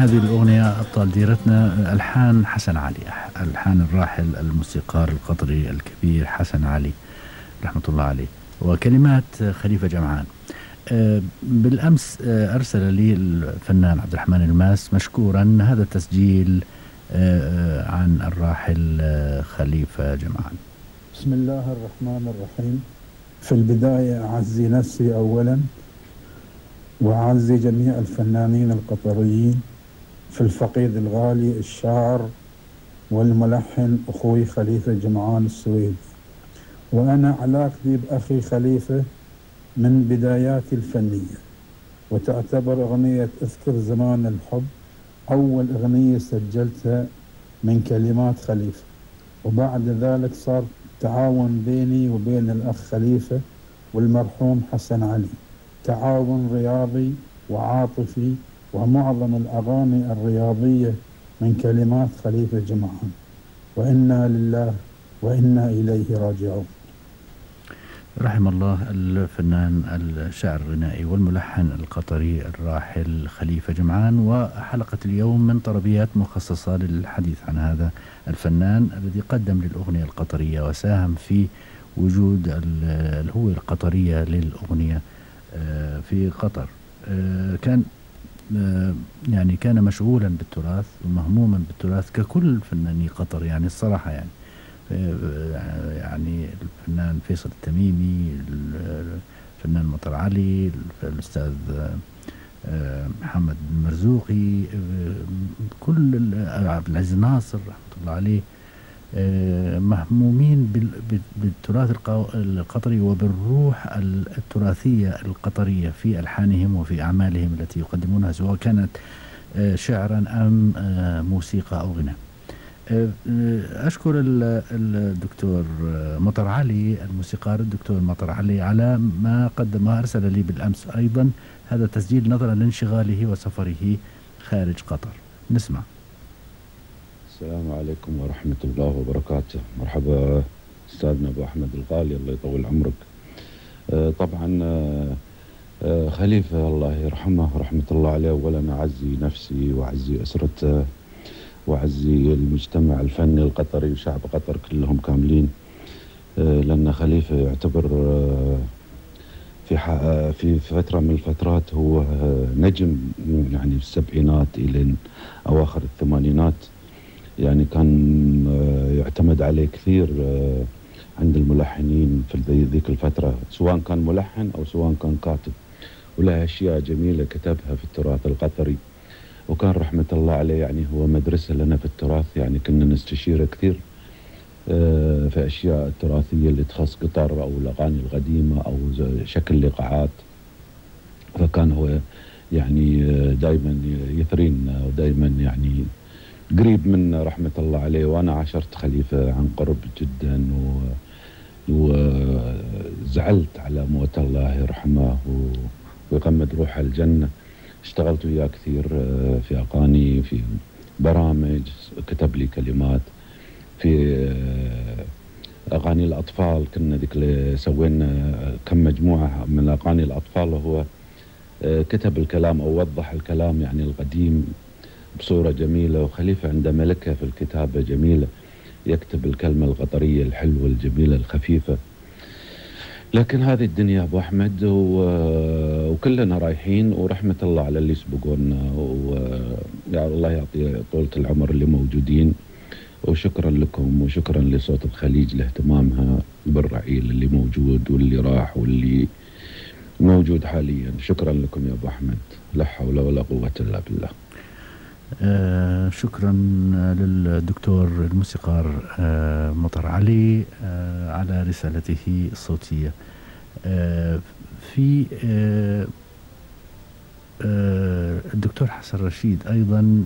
هذه الأغنية أبطال ديرتنا ألحان حسن علي، ألحان الراحل الموسيقار القطري الكبير حسن علي رحمة الله عليه، وكلمات خليفة جمعان. بالأمس أرسل لي الفنان عبد الرحمن الماس مشكورا هذا التسجيل عن الراحل خليفة جمعان. بسم الله الرحمن الرحيم. في البداية أعزي نفسي أولا، وأعزي جميع الفنانين القطريين، في الفقيد الغالي الشاعر والملحن أخوي خليفة جمعان السويدي. وأنا علاقتي بأخي خليفة من بداياتي الفنية، وتعتبر أغنية اذكر زمان الحب أول أغنية سجلتها من كلمات خليفة، وبعد ذلك صار تعاون بيني وبين الأخ خليفة والمرحوم حسن علي، تعاون رياضي وعاطفي، ومعظم الأغاني الرياضية من كلمات خليفة جمعان، وإنا لله وإنا إليه راجعون. رحم الله الفنان الشاعر الغنائي والملحن القطري الراحل خليفة جمعان. وحلقة اليوم من طربيات مخصصة للحديث عن هذا الفنان الذي قدم للأغنية القطرية وساهم في وجود الهوية القطرية للأغنية في قطر. كان يعني كان مشغولا بالتراث ومهموما بالتراث ككل فناني قطر، يعني الصراحة يعني الفنان فيصل التميمي، الفنان مطر علي، الأستاذ محمد المرزوقي، كل عبد العزيز ناصر رحمة الله عليه مهمومين بالتراث القطري وبالروح التراثية القطرية في ألحانهم وفي أعمالهم التي يقدمونها، سواء كانت شعرا أم موسيقى أو غناء. أشكر الدكتور مطر علي الموسيقار الدكتور مطر علي على ما قدمه، أرسل لي بالأمس أيضا هذا التسجيل نظرا لانشغاله وسفره خارج قطر. نسمع. السلام عليكم ورحمة الله وبركاته. مرحبا أستاذنا أبو أحمد الغالي، الله يطول عمرك. طبعا خليفة الله يرحمه ورحمة الله عليه، أولا أعزي نفسي وأعزي أسرته وأعزي المجتمع الفني القطري وشعب قطر كلهم كاملين، لأن خليفة يعتبر في فترة من الفترات هو نجم، يعني في السبعينات إلى أواخر الثمانينات، يعني كان يعتمد عليه كثير عند الملحنين في ذيك الفترة، سواء كان ملحن أو سواء كان كاتب، وله أشياء جميلة كتبها في التراث القطري، وكان رحمة الله عليه يعني هو مدرسة لنا في التراث، يعني كنا نستشيره كثير في أشياء تراثية اللي تخص قطر أو الأغاني القديمة أو شكل لقاعات، فكان هو يعني دائما يثرينا ودائما يعني قريب منا رحمة الله عليه. وأنا عاشرت خليفة عن قرب جدا وزعلت على موت الله يرحمه ويغمد روحه الجنة. اشتغلت وياه كثير في أغاني، في برامج، كتب لي كلمات في أغاني الأطفال، كنا ذيك اللي سوينا كم مجموعة من أغاني الأطفال، وهو كتب الكلام أو وضح الكلام يعني القديم بصورة جميلة. وخليفة عنده ملكة في الكتابة جميلة، يكتب الكلمة القطرية الحلوة الجميلة الخفيفة. لكن هذه الدنيا أبو أحمد وكلنا رايحين، ورحمة الله على اللي يسبقونا، ويا الله يعطي طولة العمر اللي موجودين. وشكرا لكم وشكرا لصوت الخليج لاهتمامها بالرعيل اللي موجود واللي راح واللي موجود حاليا. شكرا لكم يا أبو أحمد، لا حول ولا قوة إلا بالله. شكرا للدكتور الموسيقار مطر علي على رسالته الصوتية. في الدكتور حسن رشيد أيضا